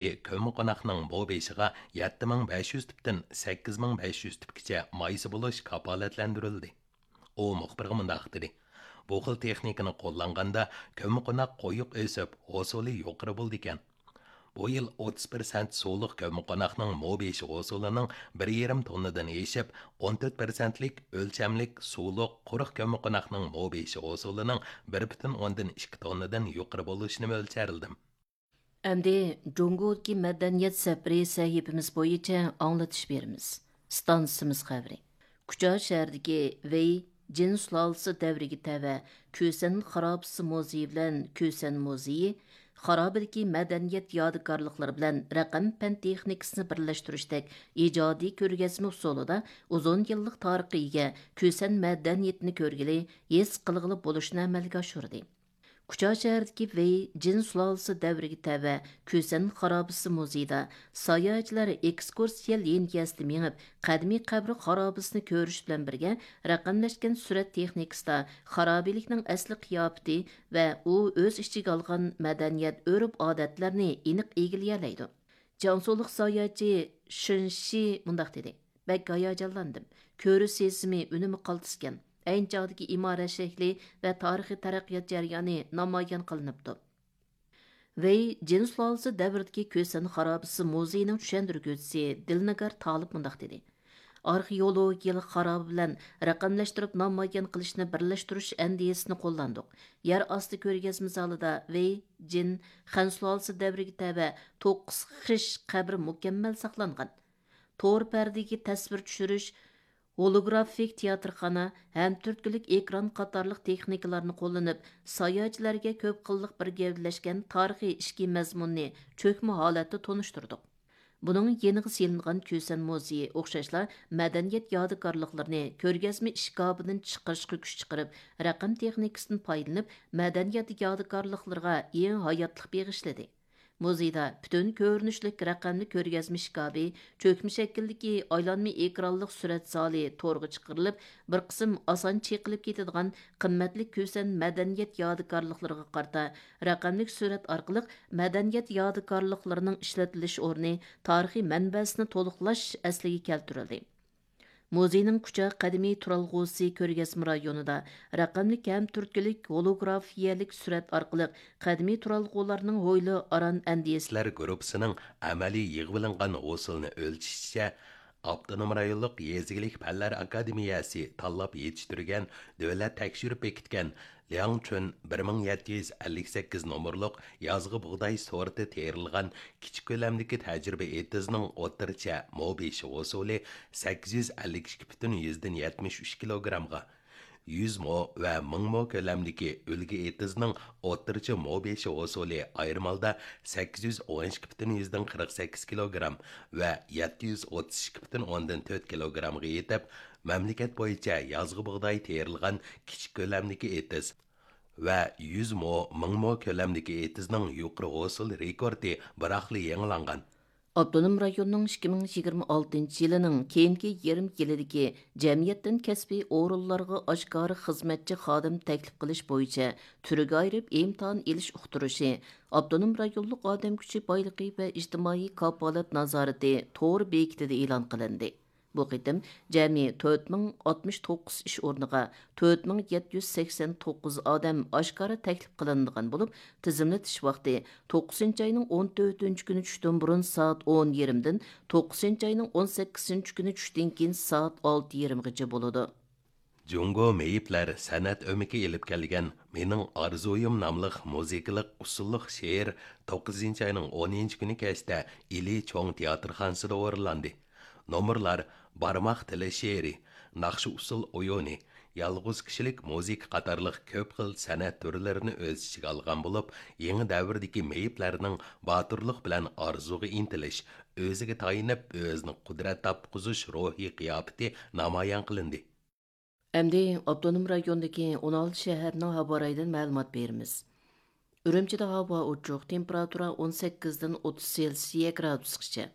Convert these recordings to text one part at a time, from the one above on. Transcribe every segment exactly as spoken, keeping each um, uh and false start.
كۆممىقوناقنىڭ مو بېشىغا يەتتە مىڭ بەش يۈز تۈپتىن سەككىز مىڭ بەش يۈز تۈپكىچە مايسا بولۇش كاپالەتلەندۈرۈلدى. ئۇ مۇخبىرغا مۇنداق دېدى: «بۇ خىل تېخنىكىنى قوللانغاندا كۆممىقوناق قويۇق ئۆسۈپ، ھوسۇلى يۇقىرى بولىدىكەن. بۇ يىل ئوتتۇز پىرسەنت سۇلۇق كۆممىقوناقنىڭ مو بېشى ھوسۇلىنىڭ بىر يېرىم توننىدىن ئېشىپ، ئون تۆت پىرسەنتلىك ئۆلچەملىك سۇلۇق قۇرۇق كۆممىقوناقنىڭ مو بېشى ھوسۇلىنىڭ بىر پۈتۈن ئوندىن ئىككى توننىدىن يۇقىرى بولۇشىنى مۆلچەرلىدىم.» ئەمدى جۇڭگودىكى مەدەنىيەت سەپىرى سەھىپىمىز بويىچە ئاڭلىتىش بېرىمىز. ئىستانسىمىز خەۋىرى. كۇچا شەھىرىدىكى ۋېي جىن سۇلالىسى دەۋرىگە تەۋە كۈسەن خارابىسى مۇزېيى بىلەن كۈسەن مۇزېيى خارابىدىكى مەدەنىيەت يادىكارلىقلىرى بىلەن رەقەم پەن تېخنىكىسىنى بىرلەشتۈرۈشتەك ئىجادىي كۆرگەزمە ئۇسۇلىدا ئۇزۇن يىللىق تارىخقا ئىگە كۈسەن مەدەنىيىتىنى كۆرگىلى، ھېس قىلغىلى بولۇشنى ئەمەلگە ئاشۇردى. كۇچا شەھىرىدىكى ۋېي جىن سۇلالىسى دەۋرىگە تەۋە كۈسەن خارابىسى مۇزېيىدا ساياھەتچىلەر ئېكسكۇرسىيە لىنىيەسىدە مېڭىپ، قەدىمىي قەبرە خارابىسىنى كۆرۈش بىلەن بىرگە، رەقەملەشكەن سۈرەت تېخنىكىسىدا خارابىلىكنىڭ ئەسلى قىياپىتى ۋە ئۇ ئۆز ئىچىگە ئالغان مەدەنىيەت، ئۆرپ-ئادەتلەرنى ئېنىق ئىگىلىيەلەيدۇ. جياڭسۇلۇق ساياھەتچى شېن شى مۇنداق دېدى: «بەك ھاياجانلاندىم. كۆرۈش سېزىمى ئۈنۈمى قالتىسكەن. ئەينى چاغدىكى ئىمارەت شەكلى ۋە تارىخىي تەرەققىيات جەريانى نامايان قىلىنىپتۇ.» ۋېي جىن سۇلالىسى دەۋرىدىكى كۈسەن خارابىسى مۇزېيىنىڭ چۈشەندۈرگۈچىسى دىلنىگار تالىپ مۇنداق دېدى: «ئارخېئولوگىيەلىك خارابە بىلەن رەقەملەشتۈرۈپ نامايان قىلىشنى بىرلەشتۈرۈش ئەندىزىسىنى قوللاندۇق. يەر ئاستى كۆرگەزمە زالىدا ۋېي جىن خەن سۇلالىسى دەۋرىگە تەۋە توققۇز خىش قەبرە مۇكەممەل ساقلانغان. تور پەردىگە تەسۋىر چۈشۈرۈش، ھولوگرافىك تىياتىرخانا، ھەم تۈرتكىلىك ئېكران قاتارلىق تېخنىكىلارنى قوللىنىپ، ساياھەتچىلەرگە كۆپ خىللىق بىر گەۋدىلەشكەن تارىخىي ئىچكى مەزمۇننى چۆكمە ھالەتتە تونۇشتۇردۇق. بۇنىڭ يېنىغا سېلىنغان كۈسەن مۇزېيى ئوخشاشلا مەدەنىيەت يادىكارلىقلىرىنى كۆرگەزمە ئىشكاپىدىن چىقىرىشقا كۈچ چىقىرىپ، رەقەم تېخنىكىسىدىن پايدىلىنىپ، مەدەنىيەت يادىكارلىقلىرىغا يېڭى ھاياتلىق بېغىشلىدى.» مۇزېيدا پۈتۈن كۆرۈنۈشلۈك رەقەملىك كۆرگەزمە ئىشكاپى، چۆكمە شەكىلدىكى ئايلانما ئېكرانلىق سۈرەت زالى تورغا چىقىرىلىپ، بىر قىسىم ئاسان چېقىلىپ كېتىدىغان قىممەتلىك كۈسەن مەدەنىيەت يادىكارلىقلىرىغا قارىتا رەقەملىك سۈرەت ئارقىلىق مەدەنىيەت يادىكارلىقلىرىنىڭ ئىشلىتىلىش ئورنى، تارىخىي مەنبەسىنى تولۇقلاش ئەسلىگە كەلتۈرۈلدى. مۇزېينىڭ كۇچا قەدىمىي تۇرالغۇسى كۆرگەزمە رايونىدا رەقەملىك ھەم تۈرتكىلىك ھولوگرافىيەلىك سۈرەت ئارقىلىق قەدىمىي تۇرالغۇلارنىڭ ھويلا ئاران ئەندىزىسى گۇرۇپپىسىنىڭ ئەمەلىي يىغىۋېلىنغان ھوسۇلىنى ئۆلچىشىچە، ئاپتونوم رايونلۇق يېزا ئىگىلىك پەنلەر ئاكادېمىيەسى تاللاپ يېتىشتۈرگەن، دۆلەت تەكشۈرۈپ بېكىتكەن لياڭچۈن بىر مىڭ يەتتە يۈز ئەللىك سەككىز نومۇرلۇق يازغى بۇغداي سورتى تېرىلغان كىچىك كۆلەمدىكى تەجرىبە ئېتىزنىڭ ئوتتۇرىچە مو بېشى ھوسۇلى سەككىز يۈز ئەللىك ئىككى پۈتۈن يۈزدىن يەتمىش ئۈچ كىلوگرامغا، يۈز مو ۋە مىڭ مو كۆلەمدىكى ئۈلگە ئېتىزنىڭ ئوتتۇرىچە مو بېشى ھوسۇلى ئايرىم ھالدا سەككىز يۈز ئون ئىككى پۈتۈن يۈزدىن قىرىق سەككىز كىلوگرام ۋە يەتتە يۈز ئوتتۇز ئىككى پۈتۈن ئوندىن تۆت كىلوگرامغا يېتىپ، مەملىكەت بويىچە يازغى بۇغداي تېرىلغان كىچىك كۆلەمدىكى ئېتىز ۋە يۈز مو، مىڭ مو كۆلەمدىكى ئېتىزنىڭ يۇقىرى ھوسۇل رېكورتى بىراقلا يېڭىلانغان. ئاپتونوم رايوننىڭ ئىككى مىڭ يىگىرمە ئالتىنچى يىلىنىڭ كېيىنكى يېرىم يىلىدىكى جەمئىيەتتىن كەسپىي ئورۇنلارغا ئاشكارا خىزمەتچى خادىم تەكلىپ قىلىش بويىچە تۈرگە ئايرىپ ئىمتىھان ئېلىش ئۇقتۇرۇشى ئاپتونوم رايونلۇق ئادەم كۈچى بايلىقى ۋە ئىجتىمائىي كاپالەت نازارىتى تور بېكىتىدە ئېلان قىلىندى. بۇ قېتىم جەمئىي تۆت مىڭ ئاتمىش توققۇز ئىش ئورنىغا تۆت مىڭ يەتتە يۈز سەكسەن توققۇز ئادەم ئاشكارا تەكلىپ قىلىنىدىغان بولۇپ، تىزىملىتىش ۋاقتى توققۇزىنچى ئاينىڭ ئون تۆتىنچى كۈنى چۈشتىن بۇرۇن سائەت ئون يېرىمدىن توققۇزىنچى ئاينىڭ ئون سەككىزىنچى كۈنى چۈشتىن كېيىن سائەت ئالتە يېرىمغىچە بولىدۇ. جۇڭگو مېيىپلەر سەنئەت ئۆمىكى ئېلىپ كەلگەن مېنىڭ ئارزۇيۇم ناملىق مۇزىكىلىق ئۇسسۇللۇق شېئىر توققۇزىنچى ئاينىڭ ئونىنچى كۈنى كەچتە ئىلى چوڭ تىياتىرخانىسىدا ئورۇنلاندى. نومۇرلار بارماق تىلى شېئىرى، ناخشا ئۇسسۇل ئويۇنى، يالغۇز كىشىلىك مۇزىكا قاتارلىق كۆپ خىل سەنئەت تۈرلىرىنى ئۆز ئىچىگە ئالغان بولۇپ، يېڭى دەۋردىكى مېيىپلەرنىڭ باتۇرلۇق بىلەن ئارزۇغا ئىنتىلىش، ئۆزىگە تايىنىپ، ئۆزىنى قۇدرەت تاپقۇزۇش روھىي قىياپىتى نامايان قىلىندى. ئەمدى ئاپتونوم رايوندىكى ئون ئالتە شەھەرنىڭ ھاۋا رايىدىن مەلۇمات بېرىمىز. ئۈرۈمچىدە ھاۋا ئوچۇق، تېمپېراتۇرا ئون سەككىزدىن ئوتتۇز سېلسىيە گرادۇسقىچە.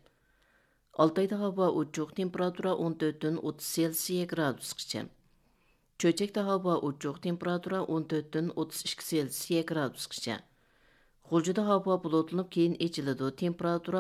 ئالتايدا ھاۋا ئوچۇق، تېمپېراتۇرا ئون تۆتتىن ئوتتۇز سېلسىيە گرادۇسقىچە. چۆچەكتە ھاۋا ئوچۇق، تېمپېراتۇرا ئون تۆتتىن ئوتتۇز ئىككى سېلسىيە گرادۇسقىچە. غۇلجىدا ھاۋا بۇلۇتلىنىپ، كېيىن ئېچىلىدۇ. تېمپېراتۇرا